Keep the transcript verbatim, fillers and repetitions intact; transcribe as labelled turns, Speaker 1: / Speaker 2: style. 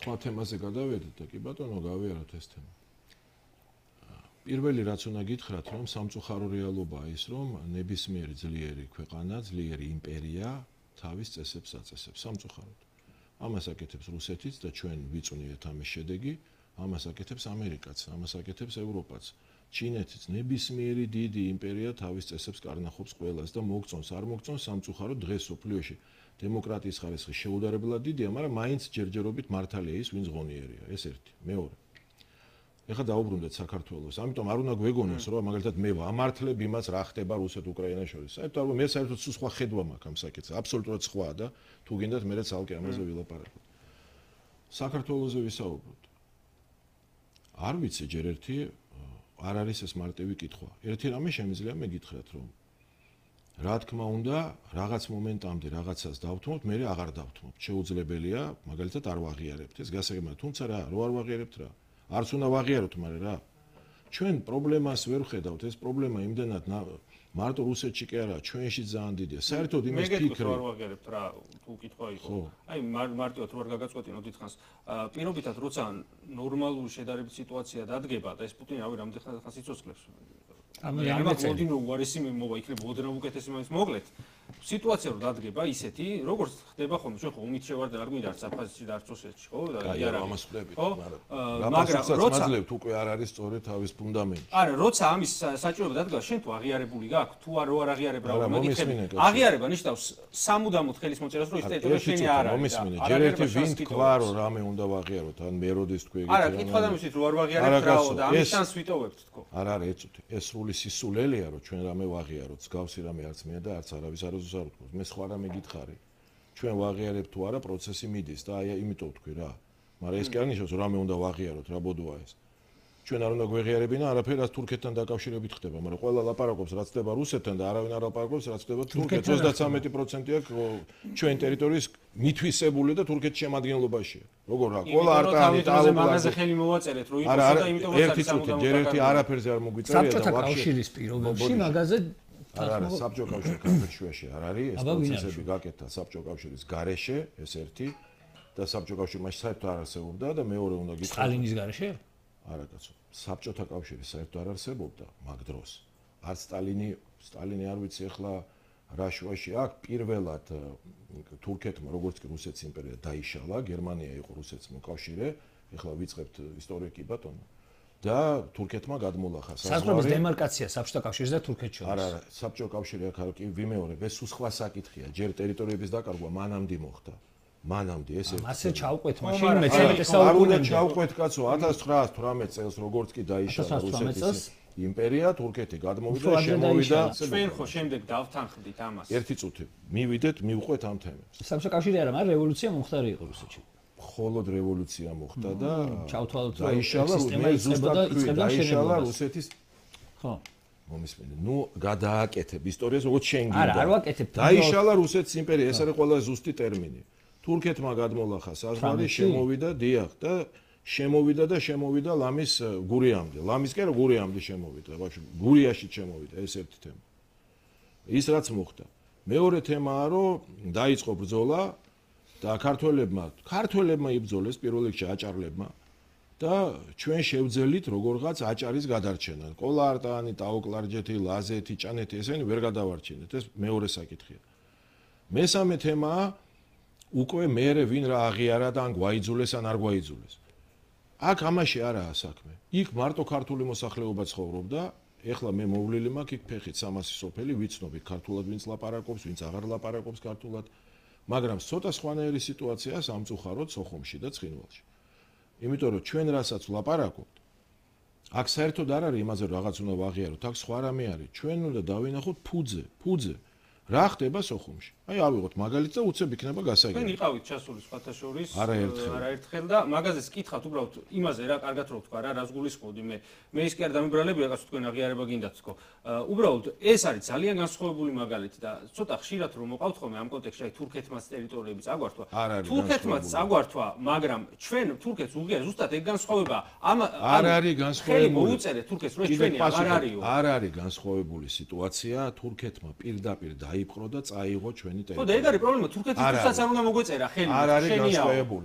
Speaker 1: სხვა თემაზე გადავედით და კი ბატონო გავიაროთ ეს თემა. პირველი რაც უნდა გითხრათ, რომ სამწუხარო რეალობაა ის, რომ ნებისმიერი ძლიერი ქვეყანა, ძლიერი იმპერია თავის წესებს აწესებს სამწუხაროდ. ამას აკეთებს რუსეთიც და ჩვენ ვიწვნიეთ ამის შედეგი, ამას აკეთებს ამერიკაც, ამას აკეთებს ევროპაც. ჩინეთიც ნებისმიერი დიდი იმპერია თავის წესებს კარნახობს ყველას და მოგწონს, არ მოგწონს სამწუხაროდ დღეს სოფლიოში დემოკრატიის ხარისხი შეუდარებლად დიდია, მაგრამ მაინც ჯერჯერობით მართალია ის, ვინც ღონიერია, ეს ერთი. მეორე. ეხლა დაუბრუნდეთ საქართველოს. ამიტომ არ უნდა გვეგონოს, რომ მაგალითად მე ვამართლებ იმას, რა ხდება რუსეთ-უკრაინას შორის. საერთოდ არ მე საერთოდ სხვა ხედვა მაქვს ამ საკითხზე. აბსოლუტურად სხვა და თუ გინდათ მე ცალკე ამაზე ვილაპარაკოთ. საქართველოსზე ვისაუბროთ. არ ვიცი ჯერ ერთი არ არის ეს მარტივი კითხვა. ერთი რამე შემიძლია მე გითხრათ, რომ რა თქმა უნდა, რაღაც მომენტამდე რაღაცას დავთმობთ, მე აღარ დავთმობთ. შეუძლებელია, მაგალითად არ ვაღიარებთ. ეს გასაგებია, თუმცა რა, რო არ ვაღიარებთ რა? არც უნდა ვაღიაროთ, მაგრამ რა? ჩვენ პრობლემას ვერ ვხედავთ, ეს პრობლემა იმდენად მარტო რუსეთში კი არა, ჩვენში ძალიან დიდია. საერთოდ იმის ფიქრი
Speaker 2: არ ვაღიარებთ რა, თუ კითხვა იყო. აი მარტივად რო არ გაგაწყვეტინოთ დიდხანს, პირობითად როცა ნორმალური შედარებით სიტუაცია დადგება და ეს პუტინი რავი რამდენ ხანს იცოცხლებს. ამას მოდი რომ უარესი მოვა იქნება ოდნავ უკეთესი მაგის მოკლედ. სიტუაცია რო დადგება ისეთი, როგორც ხდება ხოლმე, ჩვენ ხო უმით შევარდე არ გვინდა არც აფხაზეთში და არც რუსეთში, ხო? და
Speaker 1: აი არა, ამას ხვდებით,
Speaker 2: მაგრამ
Speaker 1: მაგრამ როცა მაძლევთ უკვე არ არის სწორი თავის ფუნდამენტი.
Speaker 2: არა, როცა ამის საჭიროება დადგა, შენ თუ აღიარებული გაქვს, თუ არ რო არ აღიარებ რა მაგითხები. აღიარება ნიშნავს სამუდამოდ ხელის მოწერას, რომ ის ტერიტორია შენი არ არის.
Speaker 1: მომისმინე, ჯერ ერთი ვინ თქვა, რომ რამე უნდა ვაღიაროთ, ან მე როდის თქვი ეგეთი.
Speaker 2: არა, კითხვა და მისით რო არ ვაღიარებ რაო და ამის შანსს ვიტოვებთ თქო.
Speaker 1: არა, არა, ეცუთი, ეს სრული სისულელეა, რომ ჩვენ რამე ვაღიაროთ, მსგავსი რამე არც მე და არც არავის არასდროს არ ვთქვი. მე სხვა რამე გითხარი. ჩვენ ვაღიარებთ თუ არა, პროცესი მიდის და აი იმიტომ ვთქვი რა. მაგრამ ეს კი არ ნიშნავს, რომ რამე უნდა ვაღიაროთ, რა ბოდოა ეს. ჩვენ არ უნდა გვეღიარებინა არაფერ, რაც თურქეთთან დაკავშირებით ხდება, მაგრამ ყველა ლაპარაკობს, რაც ხდება რუსეთთან და არავინ არ ლაპარაკობს, რაც ხდება თურქეთთან. ოცდათრამეტი პროცენტი აქვს ჩვენ ტერიტორიის მითვისებული და თურქეთის შემადგენლობაშია. როგორ რა? ყველა არტანი
Speaker 2: ტალობაზე მაგაზე ხელი მოვაწერეთ, რომ იტყოს და იმიტომ
Speaker 1: რომ ერთი წუთი, ჯერ ერთი არაფერზე არ მოგვიწერია და
Speaker 3: საბჭოთა კავშირის პირობებში მაგაზე
Speaker 1: არ არის საბჭოთა კავშირის კავშირში არ არის ეს პროცესები გაკეთა საბჭოთა კავშირის გარეშე, ეს ერთი და საბჭოთა კავშირი მაშინ საერთოდ არ არსებობდა და მეორე უნდა გითხრათ
Speaker 3: სტალინის გარეშე?
Speaker 1: არა კაცო, საბჭოთა კავშირი საერთოდ არ არსებობდა მაგ დროს. არც სტალინი, სტალინი არ ვიცი ახლა რა შუაში აქ პირველად თურქეთმა როგორც კი რუსეთის იმპერია დაიშალა, გერმანია იყო რუსეთის მოკავშირე, ახლა ვიწყებთ ისტორიკი ბატონო. და თურქეთმა გადმოლახა საზღვარი.
Speaker 3: საზღვრების დემარკაცია საბჭოთა კავშირის და თურქეთის შორის.
Speaker 1: არა, არა, საბჭოთა კავშირი აქ არ კი ვიმეორებ, ეს სხვა საკითხია. ჯერ ტერიტორიების დაკარგვა მანამდე მოხდა. მანამდე ეს ერთი.
Speaker 3: ასე ჩავყვეთ მაშინ მეცხრე საუკუნემდე.
Speaker 1: არ უნდა ჩავყვეთ კაცო, ათას ცხრაასთვრამეტ წელს როგორც კი დაიშალა რუსეთის იმპერია, თურქეთი გადმოვიდა, შემოვიდა.
Speaker 2: ჩვენ ხო შემდეგ დავთანხმდით ამას.
Speaker 1: ერთი წუთი. მივიდეთ, მივყვეთ ამ თემებს.
Speaker 3: საბჭოთა კავშირი არა, მაგრამ რევოლუცია მომხდარი იყო რუსეთში.
Speaker 1: ხოლოდ რევოლუცია მოხდა და
Speaker 3: ჩავთვალოთ რომ
Speaker 1: დაიშალა რუსეთის დაიშალა რუსეთის
Speaker 3: ხო
Speaker 1: მომისმენე ნუ გადააკეთებ ისტორიას როგორც შენ გინდა
Speaker 3: არა არ ვაკეთებ
Speaker 1: დაიშალა რუსეთის იმპერია ეს არის ყველა ზუსტი ტერმინი თურქეთმა გადმოლახა საზღვარი შემოვიდა დიახ და შემოვიდა და შემოვიდა ლამის გურიამდე ლამის კი არა გურიამდე შემოვიდა ბავშვი გურიაში შემოვიდა ეს ერთი თემა ის რაც მოხდა მეორე თემაა რომ დაიწყო ბრძოლა და ქართველებმა ქართველებმა იბრძოლეს პირველ რიგში აჭარლებმა და ჩვენ შევძელით როგორღაც აჭარის გადარჩენა. კოლარტანი, ტაოკლარჯეთი, ლაზეთი, ჭანეთი ესენი ვერ გადავარჩინეთ. ეს მეორე საკითხია. მესამე თემაა უკვე მეერე ვინ რა აღიარა და ან გვაიძულეს ან არ გვაიძულეს. აქ ამაში არაა საქმე. იქ მარტო ქართული მოსახლეობა ცხოვრობდა. ეხლა მე მოვლილი მაქვს იქ ფეხით სამასი სოფელი ვიცნობ ქართულად ვინც ლაპარაკობს, ვინც აღარ ლაპარაკობს ქართულად. მაგრამ ცოტა სხვანაირი სიტუაციაა სამწუხაროდ სოხუმში და ცხინვალში. იმიტომ რომ ჩვენ რასაც ვლაპარაკობთ, აქ საერთოდ არ არის იმაზე რომ რაღაც უნდა ვაღიაროთ, აქ სხვა რამე არის. ჩვენ უნდა დავინახოთ ფუძე, ფუძე. რა ხდება სოხუმში? აი ავიღოთ მაგალითს და უცებ იქნება გასაგები.
Speaker 2: ჩვენ იყავით ჩასული სხვათა შორის,
Speaker 1: არაერთხელ.
Speaker 2: არაერთხელ და მაგაზეც კითხავთ უბრალოდ იმაზე რა კარგად რო ვთქვა რა, რას გულისხმობდი მე. მე ის კი არ დამიბრალები რაღაც თქვენ აღიარება გინდათ თქო. უბრალოდ ეს არის ძალიან განსხვავებული მაგალითი და ცოტა ხშირად რომ მოყავთ ხოლმე ამ კონტექსტში აი თურქეთმაც ტერიტორიების წაგვართვა. თურქეთმაც წაგვართვა, მაგრამ ჩვენ თურქეთს უღია ზუსტად ეგ განსხვავება. ამ
Speaker 1: არ არის განსხვავებული.
Speaker 2: მოუწერეთ თურქეთს რომ ჩვენი აღარ არისო.
Speaker 1: არ არის განსხვავებული სიტუაცია, თურქეთმა პირდაპირ დაიპყრო და წაიღო ჩვენი ტერიტორია.
Speaker 2: ხო და ეგ არის პრობლემა, თურქეთისთვისაც არ უნდა მოგვეწერა ხელი,
Speaker 1: არ არის განსხვავებული.